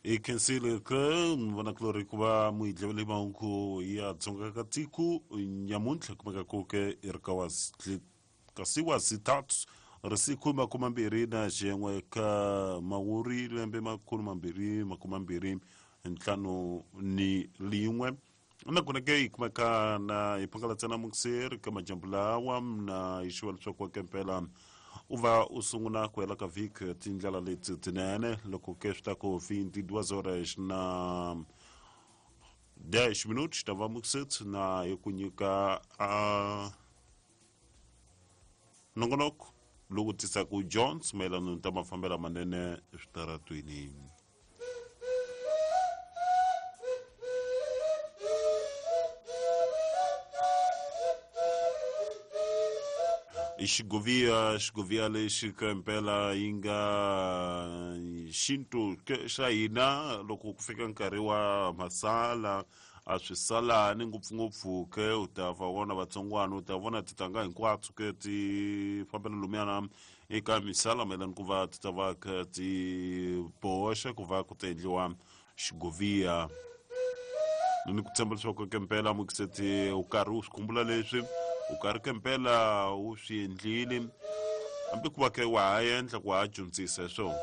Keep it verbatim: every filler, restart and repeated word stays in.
Hi khensile ke vonakulori ku va muhidlevele mahungu ya Dzonga ka tiko nyamuntlha kumeka ku ke i ri ka wa kasi wa zitatu risiku makumi mambirhi na xin'we ka mawuri lembe makhulu mambirhi makumi mambirhi ntlhanu ni lin'we nakona ke hi kumeka na hi phakalatsa na mukiseri ka majambu lawa na hi xiva leswaku ke mpela u va u sungula ku hela ka vhiki tindlela leti tinene loko ke swi ta ku vinte e duas horas na dez minutos ta va mukiseti na hi ku nyika a nongonoko lowu tisaka Jones mayelana ni ta mafambelo manene eswitaratweni. I xigoviya xigoviya lexi ka mpela yi nga xintu ke xa hina loko ku fika nkarhi wa masala a swi salani ngopfungopfu ke u ta va vona vatsongwana u ta vona titanga hinkwato ke ti fambela lumiyana eka misala mayelana ku va ti ta va kha ti boxa ku va ku ta endliwa xigoviya. Ni ku tshemba leswaku ke mpela mukiseti u karhi u swi khumbula leswi u karhi ke mpela u swi endlile hambi ku va ke wa ha endla ku ha dyondzisa hi swona.